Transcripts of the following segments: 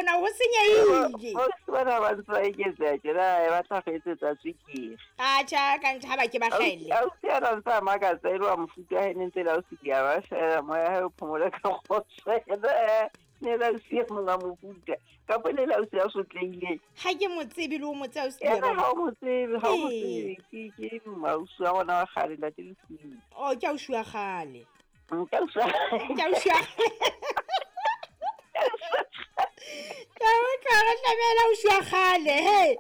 rona ho senyehile. Ausi bana ba ntse ba eketseha tjena ba tla re etsetsa tswekere. Atjha ka ntho ha ba ke ba hlaelle. Ausi ana ntse a makatsa e le wa mofuta wa hae ne ntse le ausi ke a ba shela moya hae o phomole ka kgotso. Ne le ausi e mong wa mofuta kapa ne le ausi ya sotlehileng. Ha ke mo tsebe le o mo tsebe ausi Ena ha o mo tsebe, ha o mo tsebe. Ke ausi wa rona wa kgale ntate Lesilo. Oh, ke ausi wa kgale. Ke ausi wa Ke ausi wa Ka utlwa re tlamehela ausi wa kgale, he.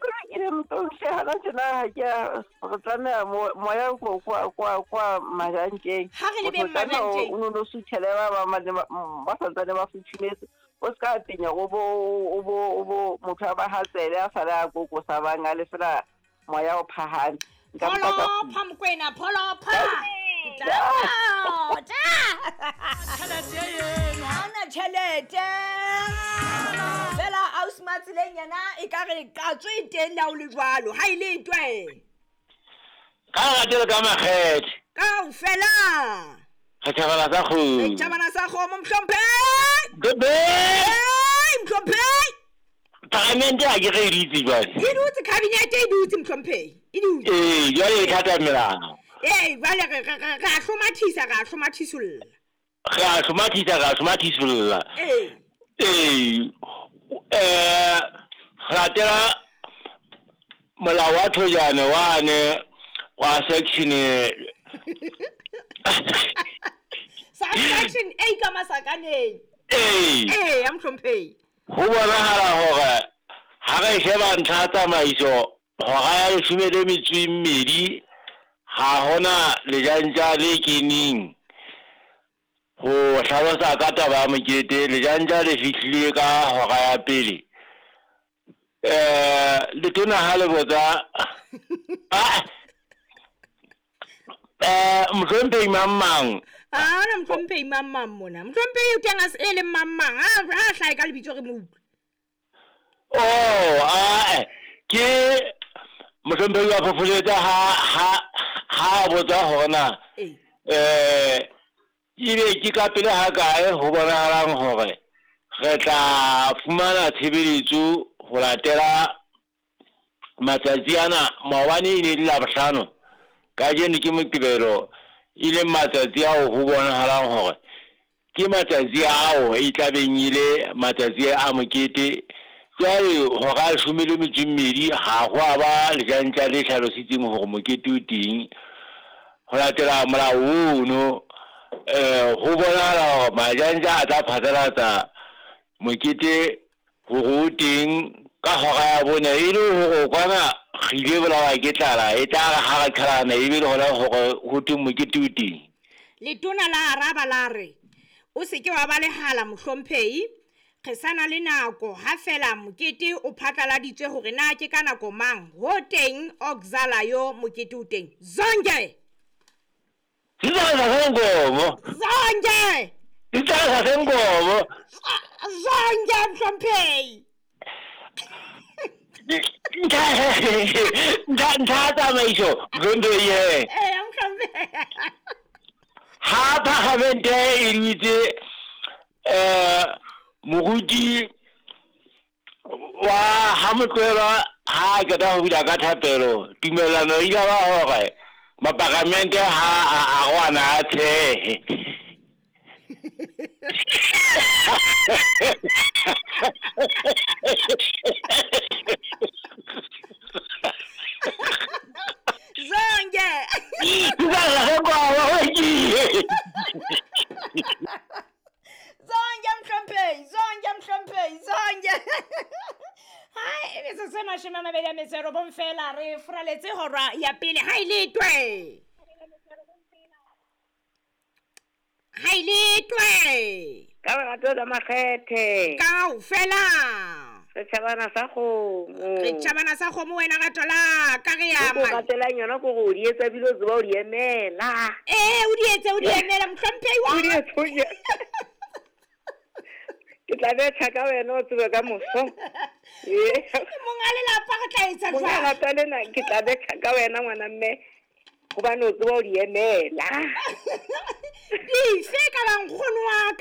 Ke ne motho hana tjena ha ke a re tlameha moya kwa majantjeng. Ha re lebeng majantjeng. O no suthele ba ba santsane ba futhumetse. O ska penya o bo motho a ba hatsele a sale a kokosa bang a le fela moya o phahame. Pholopha Mokwena, pholopha. Ha ona tjhelete. Fela ausi Matseleng yena e ka re qatso e teng le ha o le jwalo. Ha e le twe. Ka lerato le ka makgethe. Kaofela. Re tjhabana sa kgomo. Re tjhabana sa kgomo, mohlomphehi. Bebe. Hey, mohlomphehi. Paramente ha ke re e dutse jwale. E dutse, kabinete e dutse, mohlomphehi. E dutse. Ee, jwale e thata melao. Ee, jwale re a hlomathisa, re a hlomathisolla. Re a hlomathisa, re a hlomathisolla. Ee. Ee, re latela molao wa Thojane wane wa section Section A ka masakaneng. Ee. Ee, ya mohlomphehi. Ho bonahala hore ha re sheba ntlha ya tsamaiso hora ya 12 ha hona lejantja le keneng ho hlalosa ka taba ya mokete. Lejantja le fihlile ka hora ya pele. Letona ha le botsa mohlomphehi mang mang. Ha ona mohlomphehi mang mang mona. Mohlomphehi o teng a e leng mang mang. Ha hlahe ka lebitso re mo utlwe. Oh, ke mohlomphehi wa Phopholetsa ha botsa hore na ebe ke ka pele ha kae ho bonahalang hore re tla fumana tshebeletso ho latela matsatsi ana. Maobane e ne le Labohlano, kajeno ke Moqebelo, e leng matsatsi ao ho bonahalang hore ke matsatsi ao e tlabeng e le matsatsi a mokete. Jwale hora 12 ha ho a ba lejantja le hlalositseng hore mokete o teng. Ho latela molao ono, ho bonahala hore majantja a tla phatlalatsa mokete hore o teng ka hora ya 4, e le hore kwana re ile bolawa ke tlala, e tla re ha re qhalana ebe le hona hore ho teng mokete o teng. Letona la araba la re o se ke wa ba lehala mohlomphehi, re sana le nako ha fela mokete o phatlaladitswe hore na ke ka nako mang ho teng oxala yo mokete o teng. Zonke. Zonke. Zonke. Zonke mohlomphehi. Ntlha tsamaiso mohlomphehi. Ee, mohlomphehi. Ha parlamente e dutse moruti wa ha Motlohelwa ha qeta ho bula ka thapelo, tumellano e ile ba hore maparamente ha a arwana a tshehe. Zonke. Zonke mhlomphehi, zonke mhlomphehi, zonke. Hai, metsotso e 29 fela re furaletse hora ya pele. Ha e le twe. Ha e le twe. Ka lerato la makgethe. Kaofela. Re tjhabana sa kgomo. Re tjhabana sa kgomo wena rato la ka re ya ma. O ratelang yona ko go di etsa bile o tseba o di emela. Ee, o di etse, o di emela mohlomphehi wa. O di etse. Ke tla betha ka wena o tsebe ka moso. Ee. Monga lelapa re tla etsa jwang? Monga lelapa lena ke tla betha ka wena ngwana mme hobane o tseba o di emela. Dife ka bang nkgono wa ka?